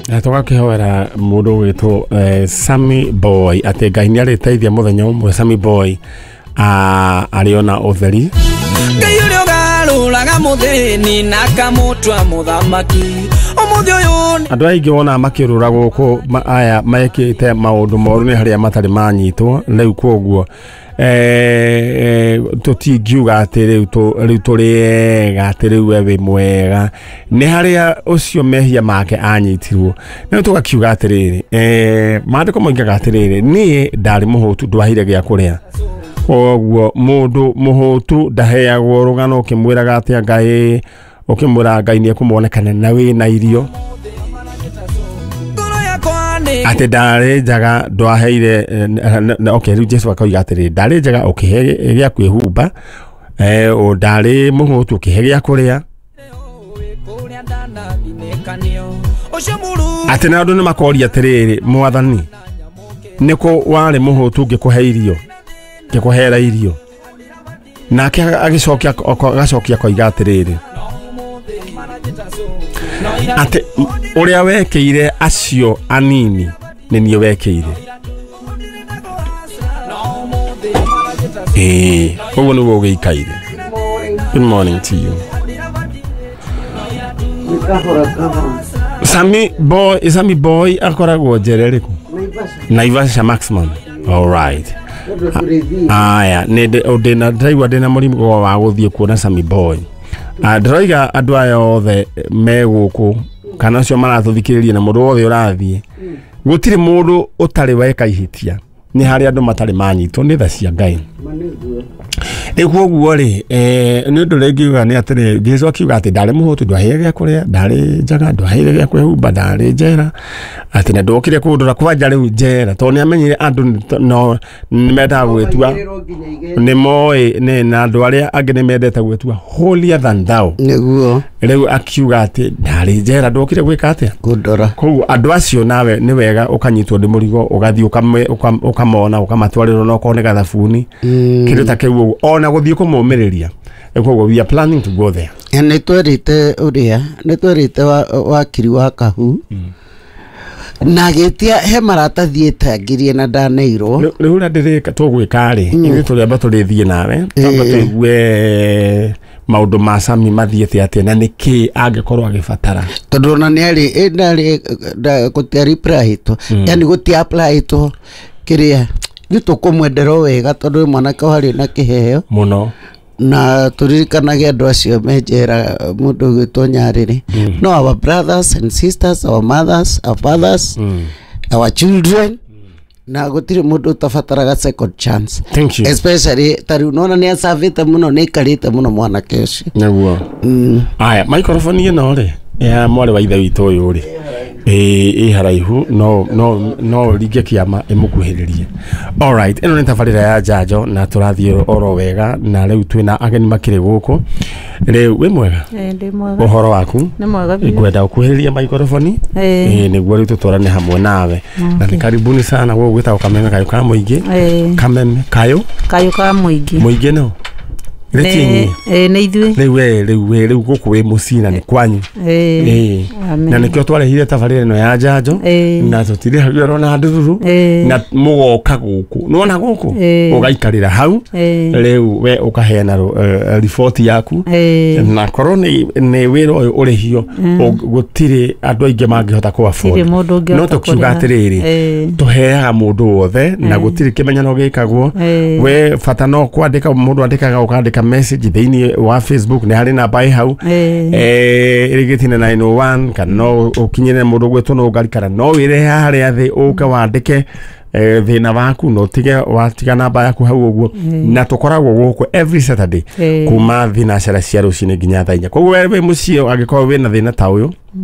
Na tũgakĩhoera mũndũ ũgwĩtwo Sammy Boy atĩ Ngai nĩ arĩteithia mũthenya ũmwe Sammy Boy arĩona ũtheri. Ngai ũrĩa ũgarũraga mũthĩni na akamũtua mũthamaki ũmũthĩ ũyũ. Andũ aingĩ wonaga makĩũrũra gũkũ aya mekĩte maũndũ moru nĩ harĩa matarĩ manyitwo rĩu, koguo tũtingiuga atĩ rĩu rĩu tũrĩ ega, atĩ rĩu we wĩ mwega, nĩ harĩa ũcio mehia make anyitirwo. Rĩu tũgakiuga atĩrĩrĩ, maandĩko moigaga atĩrĩrĩ, niĩ ndarĩ mũhũtu, ndwaheire gĩa kũrĩa. Koguo mũndũ mũhũtu ndaheagwo rũgano ũkĩmwĩraga atĩa Ngai, ũkĩmwĩra Ngai nĩ ekũmuonekana na wĩna irio. Ngoro yakwa nĩ Atĩ ndarĩ njaga, ndwaheire okay, rĩu Jesu akoiga atĩrĩ, ndarĩ njaga, ũkĩhe gĩa kwĩhumba, ndarĩ mũhũtu, ũkĩhe gĩa kũrĩa. Kũrĩa ndanathinĩkanio ũcio mũru. Atĩ na andũ nĩ makoria atĩrĩrĩ, Mwathani, nĩkũ warĩ mũhũtu ngĩkũhe irio, ngĩkũhera irio? Nake agĩcokia, agacokia akoiga atĩrĩrĩ, atĩ ũrĩa wekĩire acio anini nĩ niĩ wekĩire. Ĩĩ, ũguo nĩguo ũgĩikaire. Good morning to you. Kahora kahora. Sammy Boy, Sammy Boy akoragwo njera ĩrĩkũ? Naivasha. Naivasha Maximum. All right. Tondũ tũrĩthiĩ. Aya, nĩ ndĩna, ndĩraigua ndĩna mũrigo wa gũthiĩ kuona Sammy Boy. Ah, ndĩroiga andũ aya othe me gũkũ kana acio maratũthikĩrĩria na mũndũ wothe ũrathiĩ, gũtirĩ mũndũ ũtarĩ weka ihĩtia, nĩ harĩ andũ matarĩ manyitwo nĩ tha cia Ngai. Ma nĩguo. Rĩu koguo rĩ, nĩ ũndũ ũrĩa ingiuga nĩ atĩrĩ, Jesu akiuga atĩ ndarĩ mũhũtu, ndwaheire gĩa kũrĩa, ndarĩ njaga, ndwaheire gĩa kwĩhumba, ndarĩ njera, atĩ na ndwokire kũndora kwanja rĩu njera, tondũ nĩ amenyire andũ no nĩ mendaga gwĩtua Maigĩrĩrwo nginya igeti. Nĩ moĩ nĩ na andũ arĩa angĩ nĩ mendete gwĩtua holier than thou. Nĩguo. Rĩu akiuga atĩ ndarĩ njera, ndwokire gwĩka atĩa? Kũndora. Koguo andũ acio nawe nĩ wega ũkanyitwo nĩ mũrigo, ũgathiĩ ũkamona, ũkamatwarĩra onokorwo nĩ gathabuni, kĩndũ ta kĩu ũguo, ona gũthiĩ kũmũmĩrĩria. Koguo we are planning to go there. Nĩ twerĩte ũrĩa nĩ twerĩte wakiri wa kahu na agĩtia he maratathi ĩtangirie na ndaneirwo. Rĩu ũrĩa ndĩrĩka, tũgwĩka rĩ, ithuĩ tũrĩamba tũrĩthiĩ nawe, twamba tũigue maũndũ ma Sami mathiĩte atĩa na nĩkĩ angĩkorwo agĩbatara. Tondũ ona nĩ arĩ ndarĩ gũtia replytwo, yani gũtia applytwo kĩrĩa ithuĩ tũkũmwendera o wega, tondũ wĩ mwanake warĩ na kĩheo. Mũno. Na tũririkanage andũ acio me njera, mũndũ ũgwĩtwo Nyarĩrĩ, no our brothers and sisters, our mothers, our fathers, our children, na gũtirĩ mũndũ ũtabataraga second chance. Thank you. Especially ta rĩu nona nĩ acabĩte mũno, nĩ aikarĩte mũno mwanake ũcio. Nĩguo. Aya, microphone ĩno rĩ ya mwarĩ wa ithe witũ ũyũ rĩ, ĩ haraihu, no ringe kĩama ĩmũkuhĩrĩrie. Alright, ĩno nĩ tabarĩra ya njanjo na tũrathiĩ oro wega, na rĩu twĩna ageni makĩrĩ gũkũ. Rĩu wĩ mwega? Eh, ndĩ mwega. Ũhoro waku? Nĩ mwega biũ. Ngwenda ũkuhĩrĩrie microphone. Eh. Ĩ, nĩguo rĩu tũtwarane hamwe nawe, na nĩ karibuni sana gũkũ gwĩtagwo Kameme Kayũ ka Mũingĩ. Kameme Kayũ. Kayũ ka Mũingĩ. Mũingĩ no rĩtinyi. Nĩ ithuĩ. Rĩu we, rĩu gũkũ wĩ mũciĩ na nĩ kwanyu. Ĩĩ. Amen. Na nĩkĩo twarehire tabarĩra ĩno ya njanjo. Na tũtirĩhagio na ndururu. Na mũgoka gũkũ, nĩwona gũkũ ũgaikarĩra hau. Rĩu we ũkaheana riboti yaku. Na korwo nĩ wĩra ũyũ ũrĩhio, gũtirĩ andũ aingĩ mangĩhota kũ afford. Gũtirĩ mũndũ ũngĩhota No tũkiuga kũrĩha. atĩrĩrĩ, tũheaga mũndũ wothe na gũtirĩ kĩmenyano gĩkagwo. We bata no kwandĩka, mũndũ andĩkaga, ũkandĩka message thĩinĩ wa Facebook, nĩ harĩ namba ĩ hau ĩrĩgĩtine 901, kana no ũkinyĩre mũndũ gwĩtwo no ngari, kana no wĩrehe harĩa thĩ ũke wandĩke thĩna waku na ũtige watiga namba yaku hau ũguo. Na tũkoragwo gũkũ every Saturday kuma thinacara cia rũcinĩ nginya thaa 4. Koguo we wĩ mũciĩ, angĩkorwo wĩna thĩna ta ũyũ.